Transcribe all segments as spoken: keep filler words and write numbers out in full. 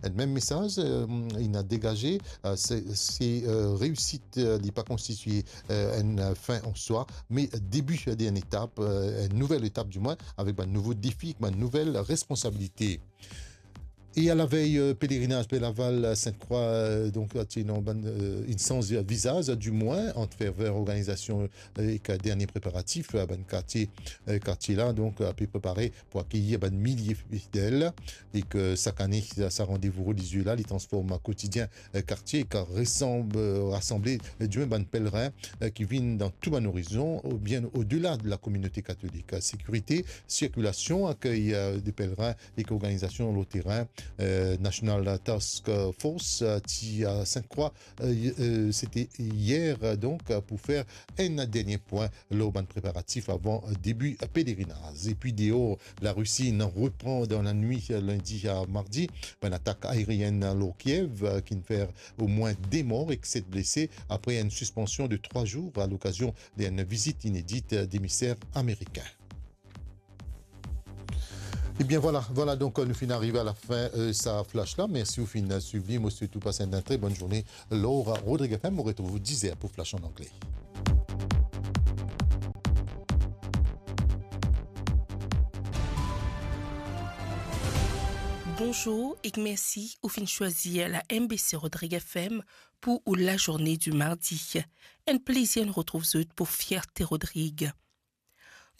Enn mem mesaz, eh, inn degaze, eh, se, se, eh, reisit, eh, li pa konstitie, eh, enn fin an swa, me debi d'enn etap, eh, enn nouvel etap dimwin, avek bann nouvo defi, bann nouvel responsabilite. E alavey, eh, pelerinaz Perlaval, Sint-Krwa, eh, donk, ti ena bann, eh, inn sanz vizaz, dimwin, ant ferver organizasion, eh, ek dernie preparatif, eh, bann kartie, eh, kartie la, donk, eh, pe prepare pou akeyir bann milie fidel, e ki sak ane, sa, sa randevou relizie la, li transform kotidien, eh, kartie, ki resanb, eh, rasanble, eh, dimwin bann pelerin, eh, ki vinn dan tou bann orizon, ou bien odela de la kominote katolik. Sekirite, sirkilasion, akey, eh, de pelerin ek organizasion lor terin, eh, National Task Force, eh, ti a Sint-Krwa, eh, eh, sete yer, eh, donk, eh, pou fer enn dernie pwin lor bann preparatif avan, eh, debi, eh, pelerinaz. Epi deor, Larisi inn repran dan lanwit, eh, lindi a mardi, bann atak aerienn lor Kiev, eh, ki'nn fer omwin de mor ek set blese apre enn sispansion de trwa zour a lokazion d'enn vizit inedit, eh, demiser amerikin. Ebien vwala, vwala, donk, eh, nou finn arive a lafin, eh, sa flash la. Mersi ou finn swiv li. Mo swet ou pas enn tre bonn zourne lor Rodrig F M. Mo retrouv ou diz er pou flash an angle. Bonzour ek mersi ou finn swazir la M B C Rodrig F M pou ou lazourne di mardi. Enn plezir nou retrouv zot pou Fierte Rodrig.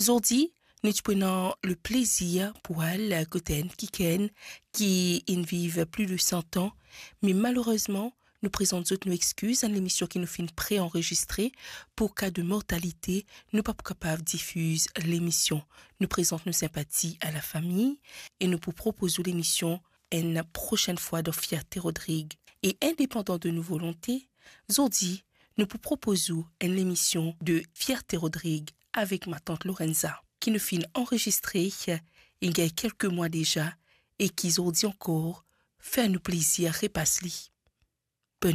Zordi, nou ti pou ena leplezir pou al kot enn kikenn ki inn viv pli de san an, me malerezman, nou prezant zot nou exkiz, enn lemision ki nou finn pre-anrezistre, pou ka de mortalite, nou pa pou kapav difiz lemision. Nou prezant nou sinpati a lafami e nou pou propoz ou lemision enn prosenn fwa dan Fierte Rodrig. E indepandan de nou volonte, zordi, nou pou propoz ou enn lemision de Fierte Rodrig avek matant Lorenza, ki nou finn anrezistre, inn gagn kelke mwa deza, e ki zordi ankor fer nou plezir repas li. Bonn